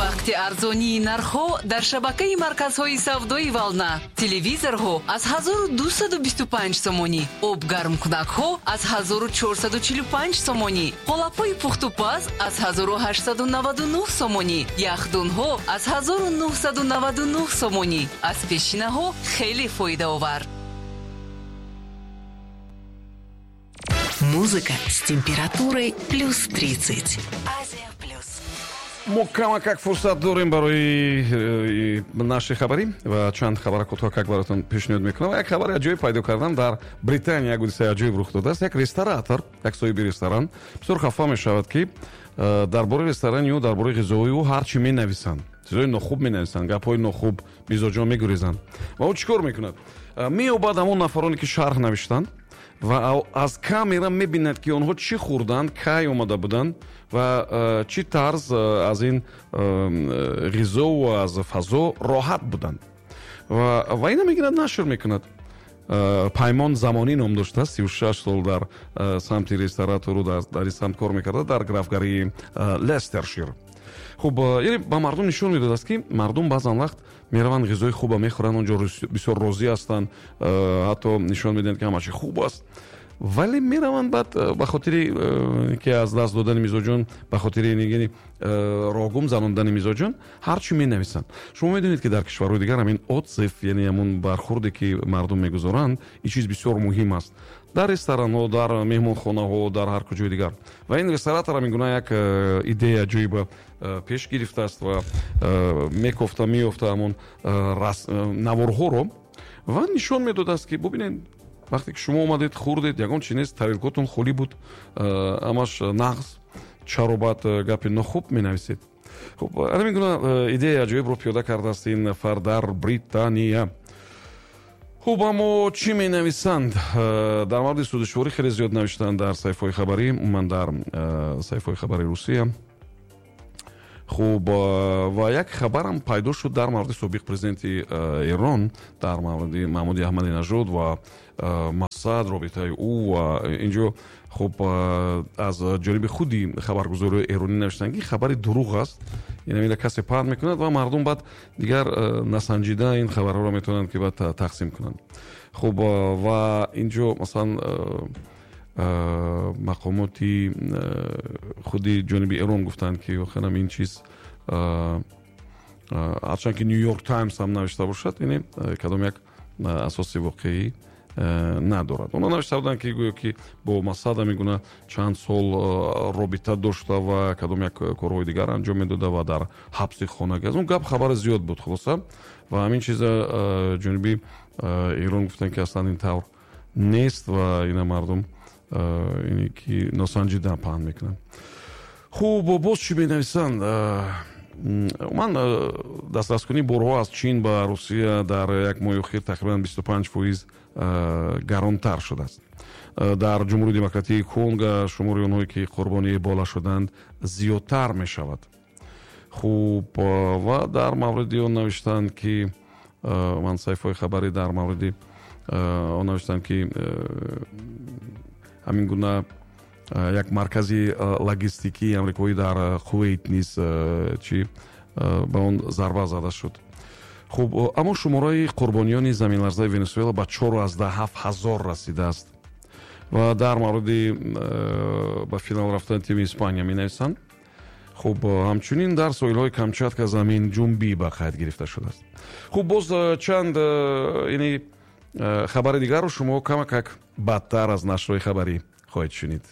Вақти арзонии нархҳо дар шабакаи марказҳои савдои «Волна»: телевизорҳо аз 1225 сомонӣ, обгармкунакҳо аз 1445 сомонӣ, қолабҳои пухтупаз аз 1899 сомонӣ, яхдонҳо аз 1999 сомонӣ. Аз пешинаҳо хеле фоидаовар. Музыка с температурой плюс 30. Азия плюс. Мо камакак фурсат дорем барои нашри хабарӣ ва чанд хабара кӯтоҳакак баротон пешниҳод мекунам. Як хабари аҷоиб пайдо кардам. Дар Британия як ҳодисаи аҷоиб рух додааст. Як ресторатор, як соҳиби ресторан бисёр хафа мешавад, ки дар бораи ресторани ӯ, дар бораи ғизои ӯ ҳар чӣ менависанд, чизои нохуб менависанд, гапҳои нохуб, мизоҷон мегурезанд. Ва ӯ чӣ кор мекунад? Меёбад ҳамон нафароне, ки шарҳ навиштанд, ва аз камера мебинад, ки онҳо чӣ хӯрданд, кай омада буданд ва чӣ тарз аз ин ғизову аз фазо роҳат буданд. Ва ина мегирад, нашр мекунад. Паймон Замонӣ ном доштааст, 36 сол дар самти ресторатору дар ин самт кор мекарда дар графгарии Лестершир. Хуб, яъне ба мардум нишон медодааст, ки мардум баъзан вақт мераванд, ғизои хуба мехӯранд, онҷо бисёр розӣ ҳастанд, ҳатто нишон медиҳанд, ки ҳама чи хуб аст, вале мераванд, баъд ба хотири ки аз даст додани мизоҷон, ба хотири яъне роҳгум занондани мизоҷон ҳар чӣ менависанд. Шумо медонед, ки дар кишварҳои дигар ҳамин отзыв, яъне ҳамон бархурде, ки мардум мегузоранд, ин чиз бисёр муҳим аст дар ресторанҳо, дар меҳмонхонаҳо, дар ҳар куҷои дигар. Ва ин ресторатор ҳамин гуна як идея аҷоиба пеш гирифтааст ва мекофта, меёфта ҳамон наворҳоро ва нишон медодааст, ки бубинед, вақте ки шумо омадед, хӯрдед, ягон чи нест, тарелкотон холӣ буд, ҳамаш нағз, чаро баъд гапи нохуб менависед? Хуб, ҳамин гуна идеяи аҷоибро пиёда кардааст ин нафар дар Британия. Хуб, аммо чӣ менависанд дар мавриди сӯзишворӣ? Хеле зиёд навиштанд дар саҳифаҳои хабарӣ, умуман дар саҳифаҳои хабари Русия. Хуб, ва як хабарам пайдо шуд дар мавриди собиқ президенти Эрон, дар мавриди Маҳмуди Аҳмадинажод ва Масад, робитаи ӯ. Ва инҷо, хуб, аз ҷониби худи хабаргузориҳои эронӣ навиштанд, ки хабари дурӯғ аст, ина касе паҳн мекунад ва мардум баъд дигар насанҷида ин хабарҳоро метавонанд, ки баъд тақсим кунанд. Хуб, ва инҷо масалан мақомоти худи ҷониби Эрон гуфтанд, ки охирам ин чиз, ҳарчанд ки Нью Йорк Таймс ҳам навишта бошад, яъне кадом як асоси воқеӣ надорад. Онҳо навишта буданд, ки гӯё ки бо Масад ҳамин гуна чанд сол робита дошта ва кадом як корҳои дигар анҷом медода ва дар ҳабси хонагӣ. Аз он гап хабари зиёд буд. Хулоса, ва ҳамин чиза ҷониби Эрон гуфтанд, ки аслан ин тавр нест ва ина мардум ине ки носанҷида паҳн мекунанд. Хуб, боз чӣ менависанд? Умуман, дастраскунии борҳо аз Чин ба Русия дар як моҳи охир тақрибан 25% гаронтар шудааст. Дар Ҷумҳурии Демократии Конго шумори онҳое, ки қурбони Эбола шуданд, зиёдтар мешавад. Хуб, ва дар мавриди он навиштанд, ки ман саҳифаҳои хабарӣ дар мавриди он навиштанд, ки ҳамин гуна як маркази логистикии амрикоӣ дар Кувейт низ чи ба он зарба зада шуд. Хуб, аммо шумораи қурбониёни заминларзаи Венесуэла ба 4,7 ҳазор расидааст. Ва дар мавриди ба финал рафтани тими Испания менависанд. Хуб, ҳамчунин дар соҳилҳои Камчатка заминҷунбӣ ба қайд гирифта шудааст. Хуб, боз чанд ини хабари дигарро шумо камакак бадтар аз нашрҳои хабарӣ хоҳед шунид.